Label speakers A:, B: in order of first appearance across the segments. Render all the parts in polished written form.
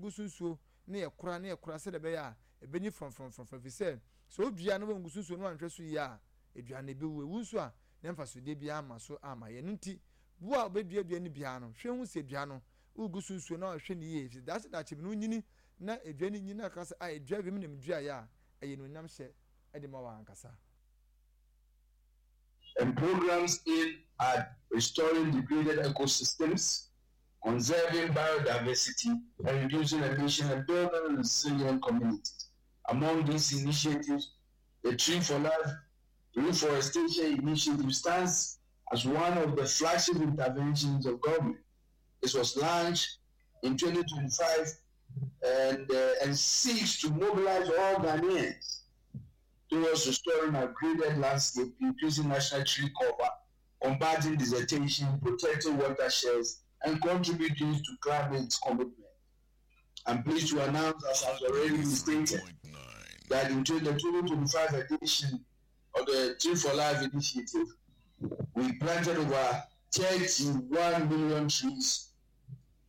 A: yɛgu so nsuo na yɛkora na yɛkora sɛdeɛ ɛbɛyɛ a ɛbɛnyi frɔmfrɔmfrɔmfrɔm ɛfiri sɛ sɛ wodua na woangu so nsuo na woanhwɛ so yie a, dua no ɛbɛwu. Ɛwu nso a, na mfasodeɛ biara mma so amma yɛn. Ɛno nti, wo a wobɛdua dua no biara no, hwɛ hu sɛ dua no, woregu so nsuo na woahwɛ no yie, ɛfiri sɛ daakye daakye bi no wonyini na dua no nyini na aka sɛ, ah, dua wei me na meduaeɛ a, ɛyɛ animuonyamhyɛ de ma wo ankasa.
B: And programs aimed at restoring degraded ecosystems, conserving biodiversity, and reducing emissions and building resilient communities. Among these initiatives, the Tree for Life Reforestation Initiative stands as one of the flagship interventions of government. This was launched in 2025 and, uh, and seeks to mobilize all Ghanaians towards restoring our graded landscape, increasing national tree cover, combating desertification, protecting watersheds, and contributing to climate commitment. I'm pleased to announce, as has already been stated, that in the 2025 edition of the Tree for Life initiative, we planted over 31 million trees.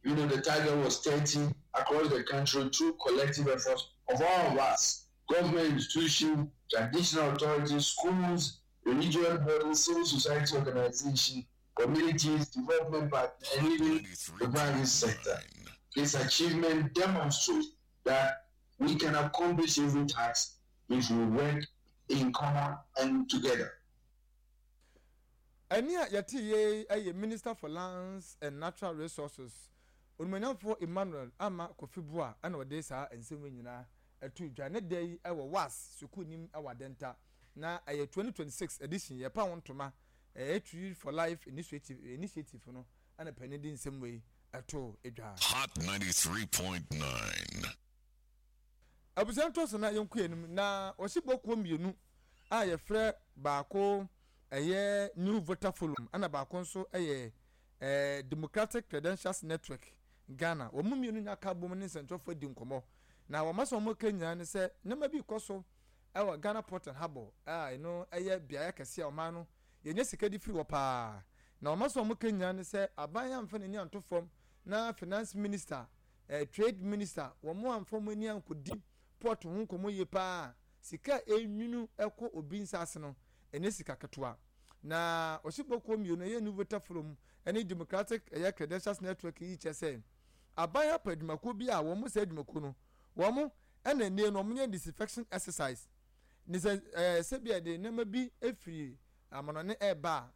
B: You know, the target was 30 across the country through collective efforts of all of us government institutions, traditional authorities, schools, religious bodies, civil society organizations, communities, development partners, and even the private sector. This achievement demonstrates that we can accomplish every task if we work in common and together.
A: Ɛnne a yɛtee yei yɛ Minister for Lands and Natural Resources, Onimonyamfoɔ Emmanuel Armah Kofi Buah na ɔde saa nsɛm wei nyinaa too dwa ne da yi wɔ WASS sukuu nim wɔ Adenta na ɛyɛ 2026 edition yɛpa ho ntoma ɛyɛ Tree for Life Initiative initiative no na panin de nsɛm wei too dwa.
C: Hot 93.9.
A: Abusua no tɔ so na yɛnkɔ anim na wɔsi bɔkuo mmienu a yɛfrɛ baako ɛyɛ New Voter Forum ɛna baako nso ɛyɛ ɛɛ Democratic Credentials Network Ghana. Wɔn mmienu nyinaa ka bom ne nsɛntwerɛfoɔ adi nkɔmmɔ na wɔn asɛm a wɔka nyinaa ne sɛ nneɛma bi rekɔ so ɛwɔ Ghana Port and Harbour a ɛno ɛyɛ beaeɛ kɛseɛ a ɔman no yɛnya sika de firi hɔ paa na wɔn asɛm a wɔka nyinaa ne sɛ aban amfa n'ani anto fam na finance minister eh, trade minister, wɔn amfa wɔn ani ankɔdi port ho nkɔmmɔ yie paa. Sika a ɛnwunu kɔ obi nsa ase no, ɛnyɛ sika ketewa. Na ɔsibɔkuo mmienu, ɛyɛ New Voter Forum ne Democratic ɛyɛ Credentials Network yi kyerɛ sɛ aban apɛ adwumakuo bi a wɔn saa adwumakuo no, wɔn ɛna nnie no wɔn yɛ disinfection exercise. Ne sɛ ɛɛ sɛbi ɛde nneɛma bi efiri amanɔne ɛɛba a,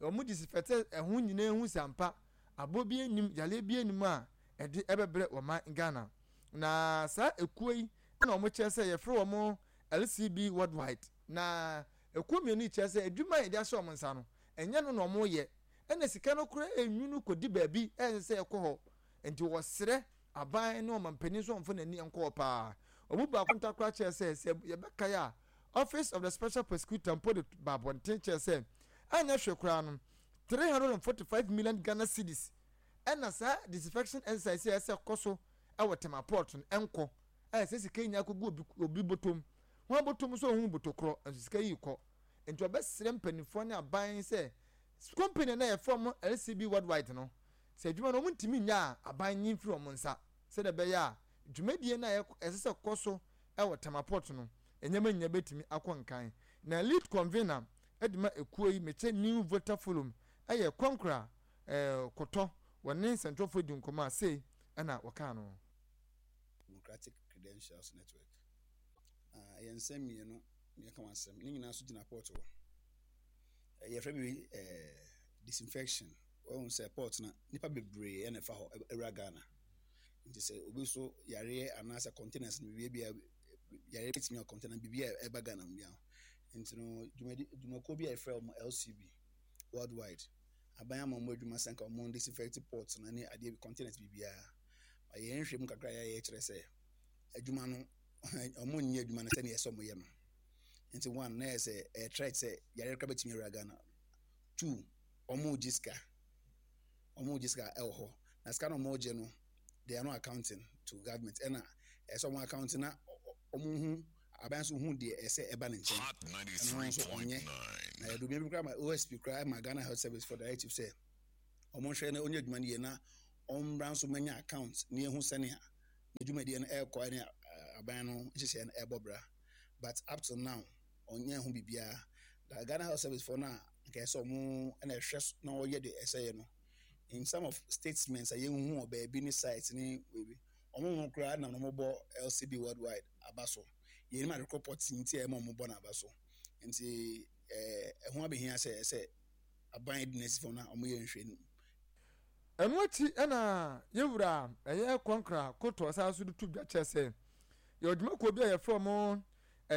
A: wɔn disinfect ɛho nyinaa ehu sɛ ampa Aboɔ biara nnim, yareɛ biara nnim a ɛde ɛbɛbrɛ ɔman Ghana. Na saa ekuo yi na wɔn kyerɛ sɛ yɛfrɛ wɔn LCB Worldwide. Na ekuo mmienu yi kyerɛ sɛ adwuma a yɛde ahyɛ wɔn nsa no, ɛnyɛ no na wɔyɛ. Ɛna sika no koraa ɛnwunu kɔdi baabi a ɛnsɛ sɛ ɛkɔ hɔ. Nti wɔsrɛ aban ne ɔmampanin nso ɔmfa n'ani nkɔ hɔ paa. Wɔn mu baako ntakora kyerɛ sɛ, sɛ yɛbɛkae a, Office of the Special Prosecutor mpo de ba abɔnten kyerɛ sɛ anyɛ hwee koraa no, 345 million Ghana cedis ɛna saa disinfection exercise a ɛsɛ kɔ so ɛwɔ Tema port no ɛnkɔ a ɛsɛ sika yi nyinaa kɔgu obi obi bɔtɔm wɔn bɔtɔm nso ohun bɔtɔ korɔ nso sika yi kɔ nti ɔbɛsrɛ mpanimfoɔ ne aban sɛ company na yɛfrɛ wɔn LCB worldwide no sɛ adwuma no wɔn ntumi nyɛ a aban nyi mfiri wɔn nsa sɛdeɛ ɛbɛyɛ a dwumadie no a ɛsɛ sɛ kɔ so ɛwɔ Tema port no nneɛma nyinaa bɛtumi akɔ nkan na lead convener de ma ekuo yi mekyɛ New Voter Forum yɛ Kɔnkora Kotɔ wɔne nsɛntwerɛfoɔ di nkɔmmɔ a sei na wɔkaa no.
D: Democratic Credentials Network. Na ɛyɛ nsɛm mmienu na yɛka ho asɛm. Ne nyinaa nso gyina port hɔ. Yɛfrɛ biribi eh, disinfection. Wɔhu sɛ port no, nnipa bebree na ɛfa hɔ awura Ghana. Nti sɛ obi so yareɛ anaasɛ containers no biribi a yareɛ bɛtumi a container biribi a ɛba Ghana mu biara. Nti no dwumadi dwumakuo bi a yɛfrɛ wɔn LCB worldwide aban ama wɔn adwuma sɛ nka wɔn disinfect port no ne adeɛ bi containers biribiara. Ba yɛn nhwɛ mu kakra yɛayɛ kyerɛ sɛ adwuma no wɔn nyɛ adwuma no sɛdeɛ ɛsɛ wɔn yɛ no. Nti one na yɛ sɛ ɛyɛ threat sɛ yareɛ koraa bɛtumi awura Ghana. Two wɔn regye sika wɔn regye sika ɛwɔ hɔ na sika na wɔn regye no they are not accounting to government ɛna ɛsɛ wɔn accounting na wɔn hu aban nso hu deɛ ɛsɛ ɛba ne nkyɛn ɛno nso ɔnyɛ na yɛde obi bi koraa ma OSP koraa ma Ghana Health Service for directive sɛ wɔn nhwɛ na wɔnyɛ adwuma no yie na wɔn mmra nso manya account na yɛhu sɛnea. Ne dwumadie no ɛrekɔ ne aban no nhyehyɛeɛ no ɛrebɔ bra but up till now ɔnyɛ ho biribiara. Na Ghana Health Service foɔ no a nka ɛsɛ ɔmo na ɛhwɛ na ɔyɛ deɛ ɛsɛ yɛ no in some of statements a yɛnhu wɔ baabi ne site ne baabi ɔmo ho koraa na ɔmo bɔ LCB worldwide aba so. Yɛnim ade korɔ pɔtee nti a ɛma ɔmo bɔ no aba so. Nti ɛɛ ɛho abɛhia sɛ ɛsɛ aban di n'asi fam na ɔmo yɛ nhwɛnim.
A: Ɛno akyi na yɛn wura a ɛyɛ Kɔnkra Koto san nso de to dwa kyerɛ sɛ yɛwɔ dwumakuo bi a yɛfrɛ wɔn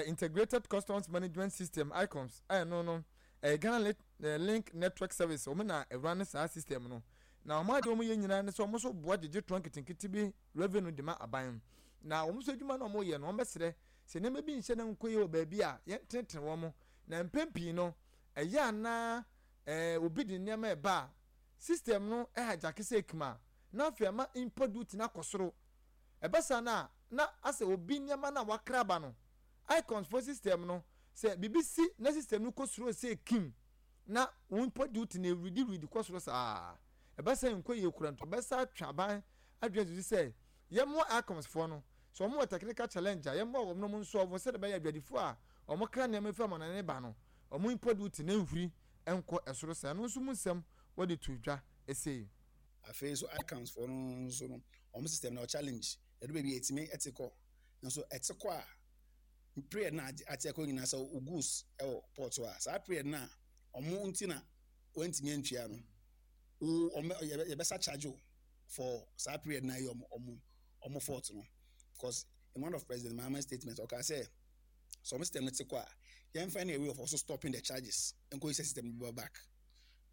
A: Integrated Customs Management System, ICUMS, a ɛno no ɛyɛ Ghana Link Network Service, wɔn na ɛwura ne saa system no. Na wɔn adeɛ wɔn yɛ nyinaa ne sɛ wɔn nso boa gyegye toɔ nketenkete bi revenue de ma aban. Na wɔn nso adwuma no a wɔyɛ no, wɔbɛsrɛ sɛ nneɛma bi nhyɛ na nkɔ yie wɔ baabi a yɛntenetene wɔn. Na mpɛn pii no, ɛyɛ a na obi de nneɛma ɛba a, system no hijack sɛ ekim a, na afei ama import duty no akɔ soro. Ɛba saa no a, na asɛ obi nneɛma no a wakra aba no, icons fo system no, sɛ biribi si na system no kɔ soro sɛ ekim na wo import duty no ɛredi redi kɔ soro saa. Ɛba saa nkɔ yie koraa nti ɔbɛsa atwe aban adwene asi so sɛ yɛmmoa icons foɔ no. Sɛ wɔn wɔ technical challenge a, yɛmmoa wɔn na wɔn nsɔlvo sɛdeɛ ɛbɛyɛ adwadifoɔ a wɔkra nneɛma firi amanɔne ba no, wɔn import duty no nhuri nkɔ soro saa. Ɛno nso mu nsɛm wɔde too dwa sei.
D: Afei nso ICANS foɔ no nso no wɔn system no challenge ɛdu baabi a ɛtumi ɛte kɔ nso ɛte kɔ a period na ate akɔ nyinaa sɛ wo goods ɛwɔ port a saa period na wɔn nti na wɔntumi antua no wo wɔn yɛbɛsa charge wo for saa period na ɛyɛ wɔn wɔn wɔn fault no because in one of President Mahama's statement ɔkaa sɛ sɛ wɔn system no te kɔ a yɛmfa ne a way of also stopping the charges nkɔ yi sɛ system no bɛba back.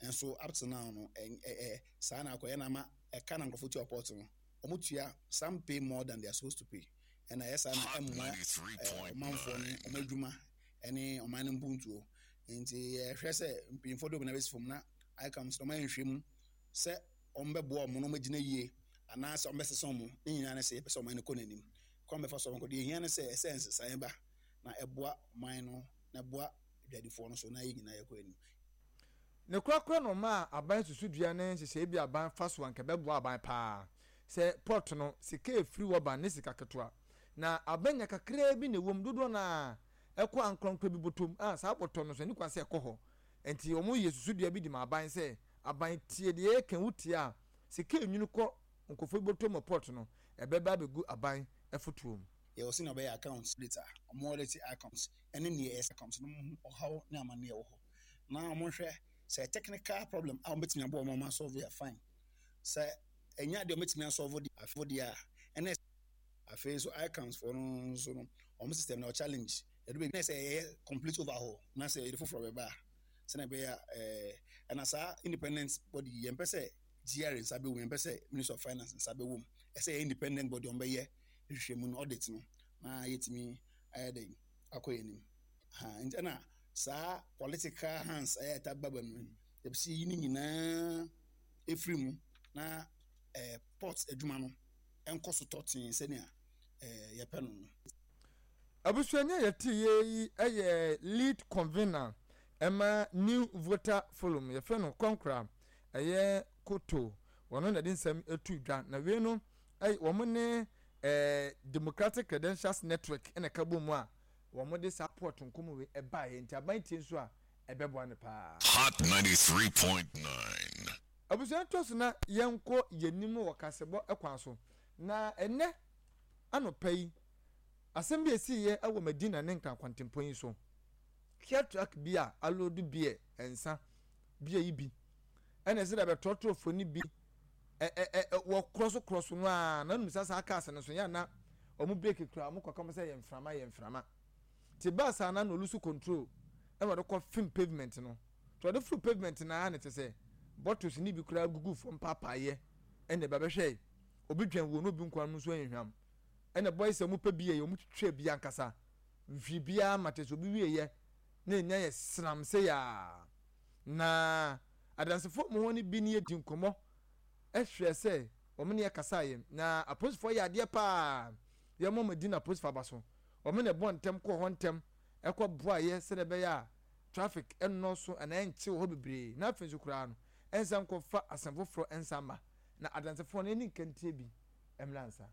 D: Nso up till now no ɛ ɛ saa na akɔyɛ na ama ɛka na nkurɔfoɔ tua port no wɔn tua some pay more than they are supposed to pay ɛna ɛyɛ saa na ɛmmoa ɛɛ ɔmanfoɔ no wɔn adwuma ɛne ɔman no mpuntuo nti yɛhwɛ sɛ mpanyinfoɔ de wɔn nan bɛsi fam na ICAM sɛ wɔn ayɛ nhwɛ mu sɛ wɔn bɛboa wɔn na wɔn agyina yie anaasɛ wɔn bɛsesa wɔn ne nyinaa ne sɛ yɛpɛ sɛ ɔman no kɔ n'anim kwan bɛfa so wɔn kɔ deɛ ehia ne sɛ ɛsɛ nsesaeɛ ba na ɛboa ɔman no na ɛboa adwadifoɔ no so na yɛn nyinaa yɛkɔ anim.
A: Ne korakora na ɔmaa aban susudua ne nhyehyɛe bi a aban fa so a anka ɛbɛboa aban paa. Sɛ port no, sika a efiri hɔ ba ne sika ketewa, na aban nya kakraa bi na ɛwom, dodoɔ no ara ɛkɔ ankorankoro bi bɔtɔ mu, a saa bɔtɔ no nso ɛnni kwan sɛ ɛkɔ hɔ. Enti wɔyɛ susudua bi de ma aban sɛ, aban tie deɛ yɛreka yi, wotie a, sika a enwunu kɔ nkurɔfoɔ bi bɔtɔ mu wɔ port no, ɛbɛba abɛgu aban fotoɔ mu.
D: Yɛwɔ sɛnea wɔbɛyɛ accounts data, wɔn audit accounts ne nea ɛyɛ accounts no, wɔhu ɔhaw ne amanneɛ a ɛwɔ hɔ. Na wɔhwɛ sɛ technical problem a wɔbɛtumi aboa wɔn ama asɔlve a fine. Sɛ ɛnyɛ adeɛ a wɔbɛtumi asɔlve deɛ a, ɛna afei nso ICANS foɔ no nso no, wɔn system no challenge. Ɛdu baabi na sɛ ɛyɛ complete overhaul na sɛ yɛde foforɔ bɛba a, sɛnea ɛbɛyɛ a ɛɛ ɛna saa independent body yi yɛmpɛ sɛ GRA nsa bɛwɔ mu, yɛmpɛ sɛ Ministry of Finance nsa bɛwɔ mu. Ɛsɛ yɛ independent body wɔn bɛyɛ nhwehwɛmu no audit no na yɛtumi ayɛ dɛn akɔ yɛn anim. Ha nti ɛna saa political hands a ɛyɛ ɛta ba ba mu yi, yɛpɛ sɛ yɛyi ne nyinaa ɛfiri mu na eh, port adwuma no ɛnkɔ so tɔtee sɛnea eh, yɛpɛ no no.
A: Abusuani a yɛte yɛ yi yɛ lead convener ɛma New Voter Forum, yɛfrɛ no Kɔnkora, ɛyɛ Koto, wɔno na ɛde nsɛm ɛtu dwa, na wei no wɔn ne eh, Democratic Credentials Network ɛna ɛka bɔ mu a wɔde saa port nkɔmmɔ wei ɛbaeɛ nti aban tie nso a ɛbɛboa no paa.
C: Hot 93.9.
A: Abusua ntoa so na yɛnkɔ yɛn anim wɔ kasɛbɔ kwan so. Na ɛnnɛ anɔpa yi, asɛm bi a ɛsiiɛ wɔ Madina ne Nkran kwantempɔn yi so. Kia truck bi a aloodu beer, nsa, beer yi bi, ɛna ɛsɛ dɛ bɛtrɔtrɔfoɔ no bi ɛ ɛ ɛ wɔkorɔ so korɔ so no ara na wonim sɛ saa cars no so yɛ na wɔn brake kura wɔn kɔka wɔn sɛ yɛ mframa yɛ mframa te baa saa na na olusu control ɛna ɔde kɔ fim pavement no te ɔde foro pavement no ara na te sɛ bottles ne bi koraa gugu fam paapaayɛ ɛna ɛba bɛhwɛ obi dwan wuo na obi nkwa no nso nhwam ɛna boys a wɔn pɛ bi yɛ wɔn twitwa bi ankasa nhwi biara ma te sɛ obi wie yɛ na enya yɛ sram sɛ yaa na adansefo mu hɔ no bi ne yɛ di nkɔmɔ hwɛɛ sɛ wɔn ne yɛ kasaeɛ. Na apolisifoɔ yɛ adeɛ paa. Yɛma wɔn adi na apolisifoɔ aba so. Wɔn na ɛbɔ ntɛm kɔɔ hɔ ntɛm ɛkɔ boaeɛ sɛdeɛ ɛbɛyɛ a traffic ɛnnɔɔso anaa ɛnkye wɔ hɔ bebree. Na afei nso koraa no, ɛnsan nkɔfa asɛm foforɔ nsan mma. Na adansefoɔ no yɛne nkantie bi mmra ansa.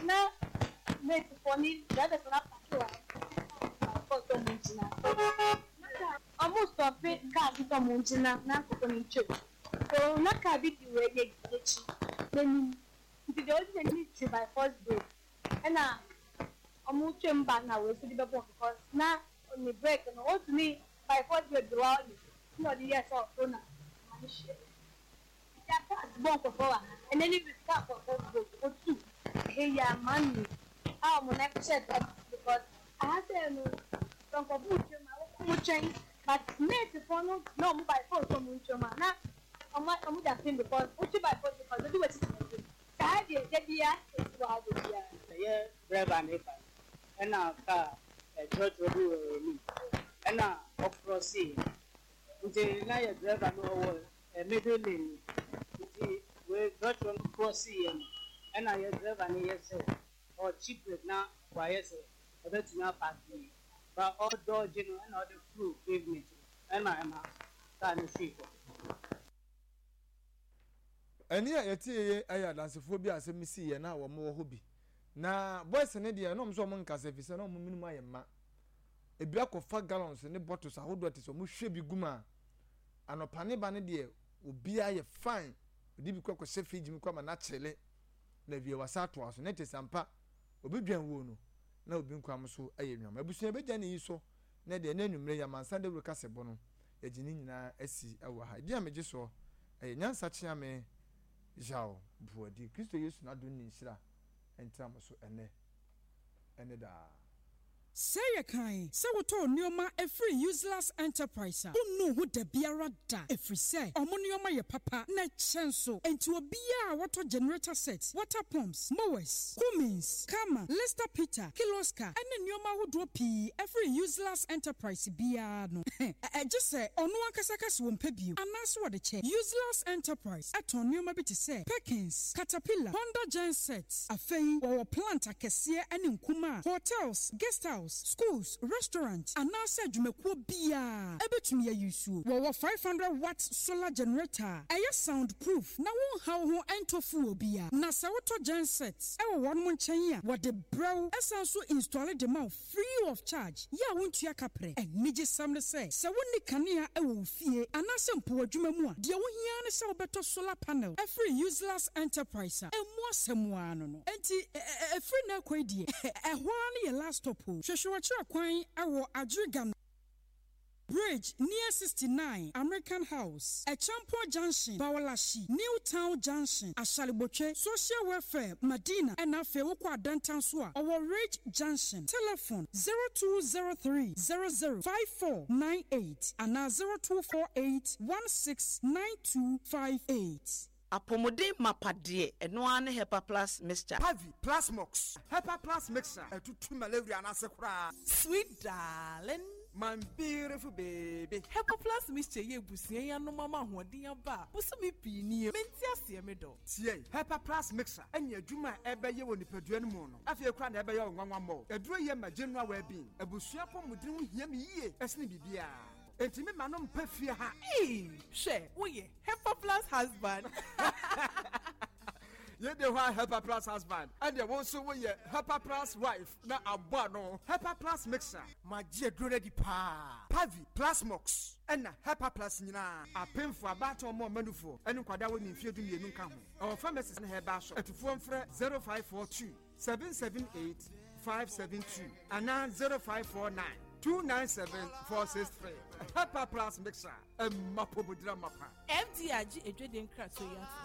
E: Na matefoɔ ne drivers no apaake wɔ ha sɛ ɔmo ngyina. Na ɔmo stop kaa bi sɛ ɔmo ngyina na nkorɔfoɔ no ntwam. So na kaa bi di wei n'akyi n'anim. Nti deɛ ɔdi n'anim twi by force brake ɛna ɔmo twam ba na wei nso de bɛbɔ because na ne brake no ɔntumi by force brake de wa ɔyɛ ɛna ɔde yɛɛ sɛ ɔforo na ɔma no hyia. Nti kaa bɔ nkorɔfoɔ wɔ ha ɛnɛ ne week kaa nkorɔfoɔ bɔ otu ɛha yi a man a ɔmo nan hyɛ dɔm because aha sɛ no sɛ nkorɔfoɔ twam a ɔmo twɛn but matefoɔ no na ɔmo by force ɔmo ntwam a na ɔmo da pin because wotwi by force because odi wɔ titi n'anim saa deɛ da bia esi wɔ ha da bia.
F: Ɛyɛ driver ne ba ɛna kaa ɛtrɔtrɔ bi wɔ anim ɛna ɔcross, nti na yɛ driver no ɔwɔ middle lane, nti wei trɔtrɔ no cross yɛ no ɛna yɛ driver no yɛ sɛ ɔkyi brake na wayɛ sɛ ɔbɛtumi apark yie ba ɔdodge no ɛna ɔde furu pavement no ɛna ɛma kaa no hwii fam.
A: Ɛne a yɛte yɛ ɛyɛ adansefoɔ bi a asɛm si yɛ na wɔn wɔ hɔ bi na boys ne deɛ na wɔn nso wɔn nkasa fi sɛ na wɔn minimum ayɛ mma ebi akɔfa gallons ne bottles ahodoɔ te sɛ wɔn hwɛ bi gu mu a anɔpa ne ba ne deɛ obiara yɛ fine, odi bi kɔ akɔhyɛ fridge mu kɔ ama n'akyele na wie wasa atoa so ne te sampa obi dwan wuo no na obi nkwa so yɛ nnuam. Abusua bɛgya ne yi so na deɛ ne anwummerɛ yi amansa dawuro kasɛbɔ no yɛgye ne nyinaa asi wɔ ha. Ɛdi a megye soɔ ɛyɛ Nyansa Kyeame Yaw Boadi. Kristo Yesu n'adom ne nhyira ntra mo so ɛnɛ ɛne daa.
G: Sɛ yɛ kan sɛ wotɔɔ nneɛma ɛfiri Useless Enterprise a, wonnu ho da biara da, ɛfiri sɛ ɔmo nneɛma yɛ papa na ɛkyɛ nso. Enti obiara a wɔtɔ generator set, water pumps, mowers, Cummins, Karma, Lister Peter, Kirloskar ɛne nneɛma ahodoɔ pii ɛfiri Useless Enterprise biara no, ɛgye sɛ ɔno ankasa ka sɛ wɔmpɛ bio anaasɛ wɔde kyɛ. Useless Enterprise ɛtɔn nneɛma bi te sɛ Perkins, Caterpillar, Honda genset. Afei wɔwɔ plant akɛseɛ ne nkumaa, hotels, guest house, schools, restaurant anaasɛ adwumakuo biara ɛbɛtumi ayi suo. Wɔwɔ 500 watt solar generator a ɛyɛ sound proof na wonha wo ho ɛntɔ fuel bia. Na sɛ wotɔ genset ɛwɔ wɔn nkyɛn a, wɔde brɛ wo, ɛsan so install de ma wo free of charge yɛ a wontua kaprɛ. Anigyesɛm ne sɛ, sɛ wonni kanea ɛwɔ wo fie anaasɛ mpo w'adwuma mu a, deɛ wohia ne sɛ wobɛtɔ solar panel ɛfiri Useless Enterprise a ɛmu asɛm ara no. Enti ɛfiri na ɛkɔ yi deɛ, ɛhɔ ara ne yɛ last stop o. Hwehwɛ wɔkyerɛ kwan ɛwɔ Adweriga Bridge near 69 American House, Echampo Junction, Bawaleshie, New Town Junction, Ashaley Botwe, Social Welfare, Madina, ɛna afei wokɔ Adantan so a ɔwɔ Ridge Junction. Telephone 0203 00 5498 anaa 0248 169258.
H: Apɔmuden mapa deɛ, ɛno ara ne Hepa Plus Mixture.
I: Pavi, Plasmox, Hepa Plus Mixture ɛtutu malaria n'ase koraa.
J: Sweet darling.
I: My beautiful baby.
J: Hepa Plus Mixture yɛ ebusua yi anom ama ahoɔden aba a bosome pii nie mente aseɛ me dɔ.
I: Tie, Hepa Plus Mixture ɛne adwuma a ɛbɛyɛ wɔ nipadua no mu no afei koraa na ɛbɛyɛ wo nwanwa mmɔ. Aduro yɛ ma general well-being. Abusua pɔmuden ho hia me yie ɛsene biribiara. Enti me ma no mpa fie ha.
J: Ee, hwɛ, woyɛ Hepa Plus husband.
I: Yɛde hɔ a Hepa Plus husband ɛdeɛ wo nso woyɛ Hepa Plus wife na abɔ ano Hepa Plus Mixture. Magye aduro no adi paa. Pavi, Plasmox ɛna Hepa Plus nyinaa apemfo, abaatan ɔmo ɔmanufoɔ ɛne nkwadaa wɔ ne mfeɛ 12 nka ho. Ɛwɔ pharmacies ne herbal shop. Atufoɔ mfrɛ 0542 778 572 anaa 0549 297 463. Hepa Plus Mixture ɛma pomodira mapa.
J: FDA agye edwede nkratoɔ yi ato.